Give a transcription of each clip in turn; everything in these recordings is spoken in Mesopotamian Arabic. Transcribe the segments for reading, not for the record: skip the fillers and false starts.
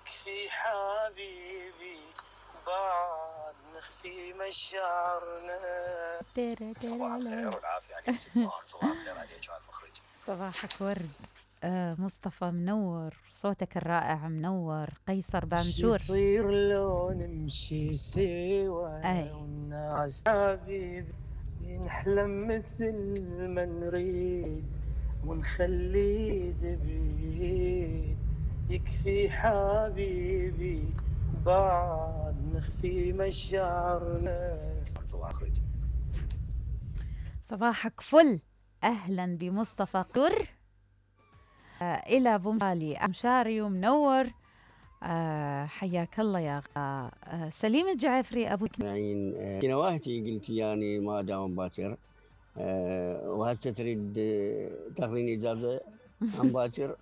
يكفي حبيبي بعد نخفي مشاعرنا. صباح الخير والعافية عليك ست فان. صباح الخير عليك وعلى المخرج. صباحك ورد. مصطفى منور، صوتك الرائع منور. قيصر بانجور. يصير لو نمشي سوا والناس حبيبي نحلم مثل ما نريد ونخلي دبيد. يكفي حبيبي بعد نخفي مشاعرنا. صباح الخير. صباحك فل. أهلا بمصطفى قر إلى بومبالي أمشاري ومنور. حياك الله يا سليم الجعفري أبو يعني نواهتي قلت يعني ما داوم باكر، وهسه تريد تاخذين إجازة عن باكر.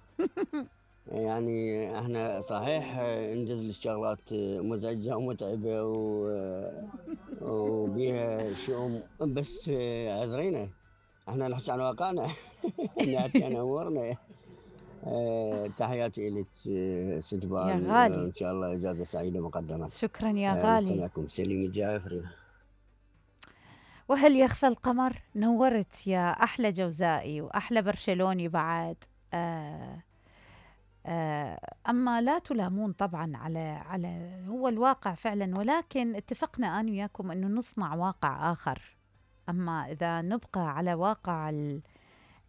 يعني احنا صحيح نجز الشغلات مزعجة ومتعبة وبيها شؤم، بس عذرينا احنا نحكي عن واقعنا. نحكي عن امورنا. تحياتي لك ست فان، يا غالي. ان شاء الله اجازة سعيدة مقدما. شكرا يا غالي. مستمعكم سليم الجعفري. وهل يخفى القمر؟ نورت يا أحلى جوزائي وأحلى برشلوني بعد. أما لا تلامون طبعا على هو الواقع فعلا، ولكن اتفقنا أنا وياكم أنه نصنع واقع آخر. أما إذا نبقى على واقع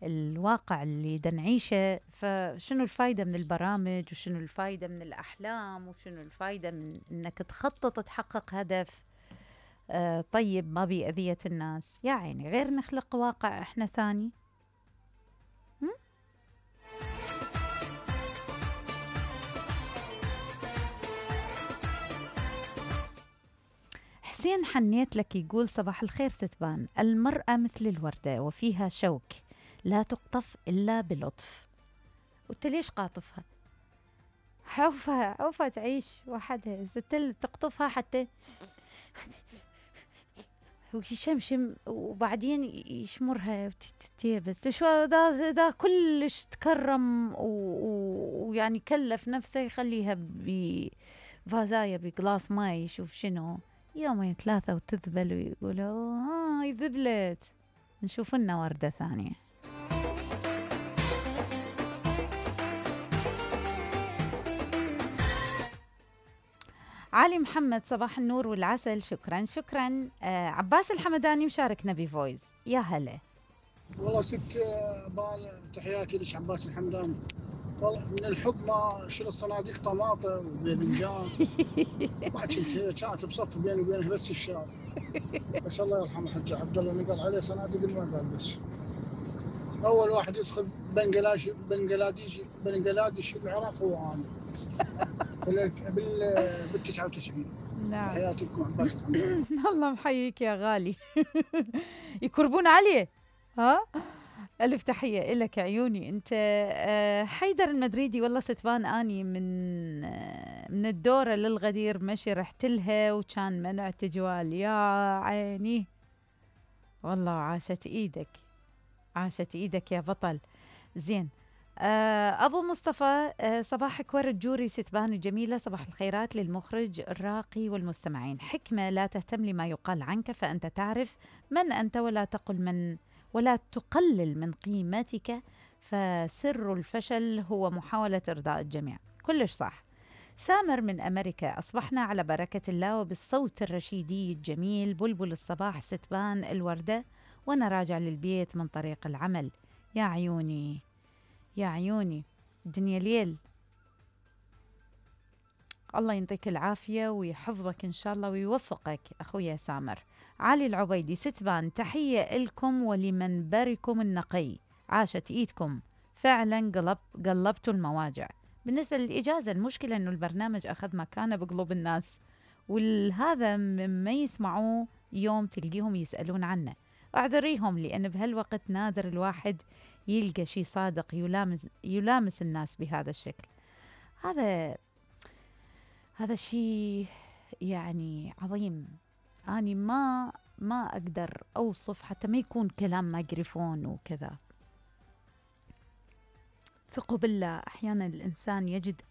الواقع اللي دنعيشه، فشنو الفايدة من البرامج، وشنو الفايدة من الأحلام، وشنو الفايدة من أنك تخطط تحقق هدف طيب ما بأذية الناس. يا عيني، غير نخلق واقع إحنا ثاني. حسين حنيت لك يقول صباح الخير ستبان. المرأة مثل الوردة وفيها شوك لا تقطف إلا بلطف. قلت ليش قاطفها؟ عوفة تعيش وحدها، ستل تقطفها حتى ويشمشم وبعدين يشمرها وتتيبس. شو ذا كلش تكرم ويعني كلف نفسه يخليها بفازايا بقلاص ماي. يشوف شنو يومين ثلاثة وتذبل ويقولوا يذبلت. نشوف لنا وردة ثانية. علي محمد صباح النور والعسل. شكرا شكرا. عباس الحمداني مشاركنا بفويس. يا هلا والله ست بان، تحياتي لك عباس الحمداني. والله من الحب ما شيل الصناديق طماطم وباذنجان. ما كنت كانت بصف بيني وبينه بس الشارع. بس الله يرحمه الحاج عبد الله نقل عليه صناديق ما قال بس. اول واحد يدخل بنغلاديش العراق هو انا بال 99. نعم. تحياتي لكم عباس الحمداني. الله محييك يا غالي. يكربون عليه. ها ألف تحية إلك عيوني. أنت حيدر المدريدي. والله ستبان أني من الدورة للغدير مشي رحت لها وكان منع تجوال. يا عيني والله عاشت إيدك، عاشت إيدك يا بطل. زين. أبو مصطفى صباحك ورد جوري ستبان الجميلة. صباح الخيرات للمخرج الراقي والمستمعين. حكمة لا تهتم لما يقال عنك فأنت تعرف من أنت ولا تقلل من قيمتك، فسر الفشل هو محاولة إرضاء الجميع. كلش صح. سامر من أمريكا. أصبحنا على بركة الله وبالصوت الرشيدي الجميل. بلبل الصباح ستبان الوردة وأنا راجع للبيت من طريق العمل. يا عيوني يا عيوني، الدنيا ليل. الله ينطيك العافية ويحفظك إن شاء الله ويوفقك أخويا سامر. علي العبيدي ستبان تحية لكم ولمنبركم النقي. عاشت إيدكم فعلا، قلبتوا المواجع. بالنسبة للإجازة المشكلة أنه البرنامج أخذ مكانه بقلوب الناس، وهذا مما يسمعوه يوم تلقيهم يسألون عنه. أعذريهم لأن بهالوقت نادر الواحد يلقى شيء صادق يلامس الناس بهذا الشكل. هذا شيء يعني عظيم. أنا ما أقدر أوصف، حتى ما يكون كلام ميكروفون وكذا. ثقوا بالله، أحيانا الإنسان يجد